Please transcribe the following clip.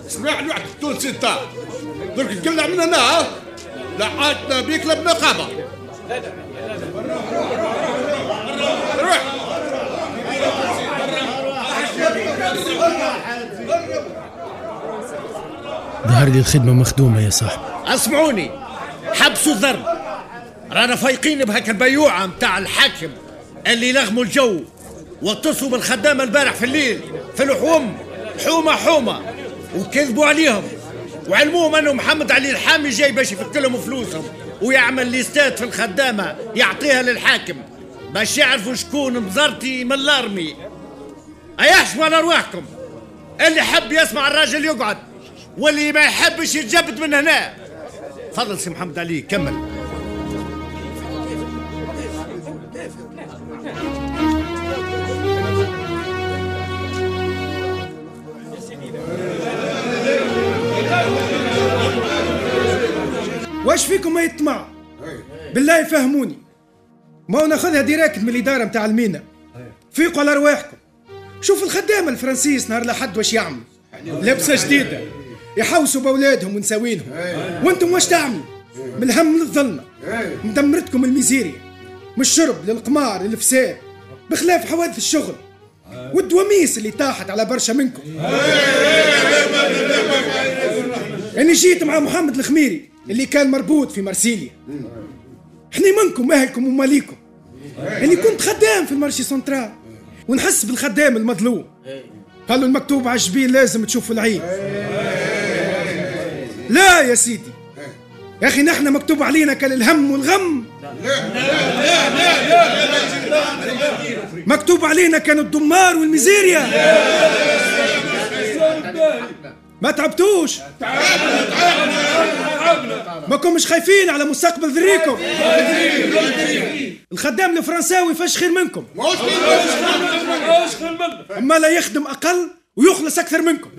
اسمع لي واحد التونسي انت درك تقلع من هنا، لا عادنا بيك لا بنقابه. روح. ظهر لي الخدمة مخدومة يا صاحبي. اسمعوني، حبسوا الضرب، رانا فايقين بهاك البيوعه متاع الحاكم اللي لغموا الجو واتصلوا بالخدامه البارح في الليل في الحوم، حومه حومه، وكذبوا عليهم وعلموهم انه محمد علي الحامي جاي باش يفك لهم فلوسهم ويعمل ليستات في الخدامة يعطيها للحاكم باش يعرفوا شكون مزرتي من الارمي. ايحشموا على ارواحكم، اللي حب يسمع الراجل يقعد واللي ما يحبش يتجبد من هنا. تفضل سي محمد علي كمل. واش فيكم ما يطمع؟ بالله يفهموني، ما هو ناخذها direct من الادارة نتاع المينا. فيقوا على ارواحكم، شوفوا الخدامة الفرنسيس نهار لحد واش يعملوا، لبسه جديدة يحوسوا باولادهم ونساوينهم، وانتم واش تعملوا؟ من الهم للظلمه، مدمرتكم الميزيريا، من الشرب للقمار للفساد، بخلاف حوادث الشغل والدواميس اللي طاحت على برشا منكم. اني جيت مع محمد الخميري اللي كان مربوط في مرسيليا. حني منكم اهلكم وماليكم. اني كنت خدام في ال marché central ونحس بالخدام المظلوم. قالوا المكتوب على الجبين لازم تشوفوا العين. لا يا سيدي يا اخي، نحن مكتوب علينا كان الهم والغم. لا لا لا لا، مكتوب علينا كان الدمار والميزيريا. ما تعبتوش؟ ما كنتش خايفين على مستقبل ذريكم؟ الخدام الفرنساوي فاش خير منكم؟ اما لا يخدم اقل ويخلص اكثر منكم.